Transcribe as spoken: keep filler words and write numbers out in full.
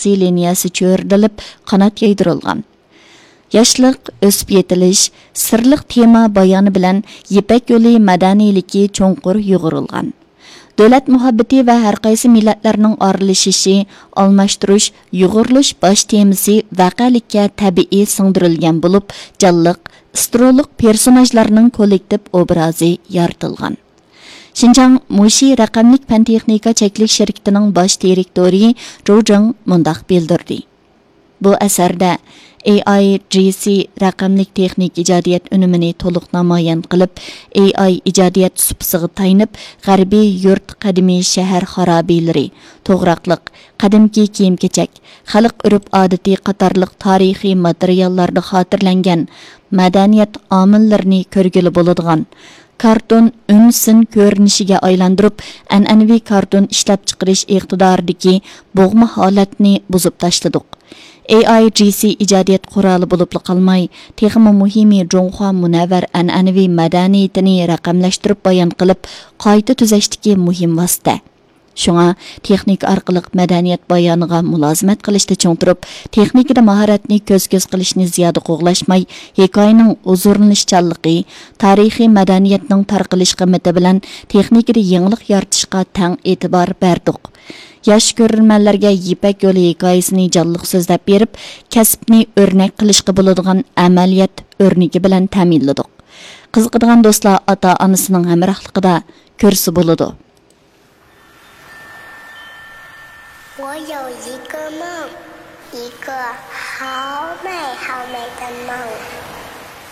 سىياسىي لىنىيەسى چۆرىدىلىپ، قانات يايدۇرۇلغان. ياشلىق، ئۆسۈپ يېتىلىش، سىرلىق تېما بايانى بىلەن يىپەك يولى مەدەنىيلىكى چوڭقۇر يۇغۇرۇلغان. دۆلەت مۇھەببىتى ۋە ھەرقايسى مىللەتلەرنىڭ ئارىلىشىشى، ئالماشتۇرۇش، يۇغۇرۇلۇش باش تېمىسى ۋەقەلىككە تەبىئىي سىڭدۈرۈلگەن بولۇپ، جانلىق، ئىسترولۇق پېرسوناژلارنىڭ كوللېكتىپ ئوبرازى يارىتىلغان. شىنجاڭ مۇشى رەقەملىك پەن تېخنىكا چەكلىك شىركىتىنىڭ باش دىرېكتورى جۇ جېڭ مۇنداق بىلدۈردى: بۇ ئەسەردە ئېي ئاي جى سى رەقەملىك تېخنىك ئىجادىيەت ئۈنۈمىنى تولۇق نامايان قىلىپ، ئېي ئاي ئىجادىيەت سۇپىسىغا تايىنىپ، غەربىي يۇرت، قەدىمىي شەھەر خارابىلىرى، توغراقلىق، قەدىمكى كىيىم-كېچەك، خەلق ئۆرپ-ئادىتى قاتارلىق تارىخىي ماتېرىياللاردا خاتىرىلەنگەن مەدەنىيەت ئامىللىرىنى كۆرگىلى بولىدىغان كارتون ئۈن سىن كۆرۈنۈشىگە ئايلاندۇرۇپ، ئەنئەنىۋى كارتون ئىشلەپچىقىرىش ئىقتىدارىدىكى بوغما ھالەتنى بۇزۇپ تاشلىدۇق. ئېي ئاي جى سى ئىجادىيەت قورالى بولۇپلا قالماي، تېخىمۇ مۇھىمى جۇڭخۇا مۇنەۋۋەر ئەنئەنىۋى مەدەنىيىتىنى رەقەملەشتۈرۈپ بايان قىلىپ، قايتا تۈزەشتىكى مۇھىم ۋاسىتە. شۇڭا تېخنىكا ئارقىلىق مەدەنىيەت بايانىغا مۇلازىمەت قىلىشتا چىڭ تۇرۇپ، تېخنىكىدا ماھارەتنى كۆز-كۆز قىلىشنى زىيادە قوغلاشماي، ھېكايىنىڭ ھۇزۇرلىنىشچانلىقى، تارىخىي مەدەنىيەتنىڭ تارقىلىش قىممىتى بىلەن تېخنىكىدا يېڭىلىق يارىتىشقا تەڭ ئېتىبار بەردۇق. ياش كۆرۈرمەنلەرگە يىپەك يولى ھېكايىسىنى جانلىق سۆزلەپ بېرىپ، كەسىپنى ئۆرنەك قىلىشقا بولىدىغان ئەمەلىيەت ئۆرنىكى بىلەن تەمىنلىدۇق. قىزىقىدىغان دوستلار ئاتا-ئانىسىنىڭ ھەمراھلىقىدا كۆرسە بولىدۇ. 我有一个梦，一个好美好美的梦。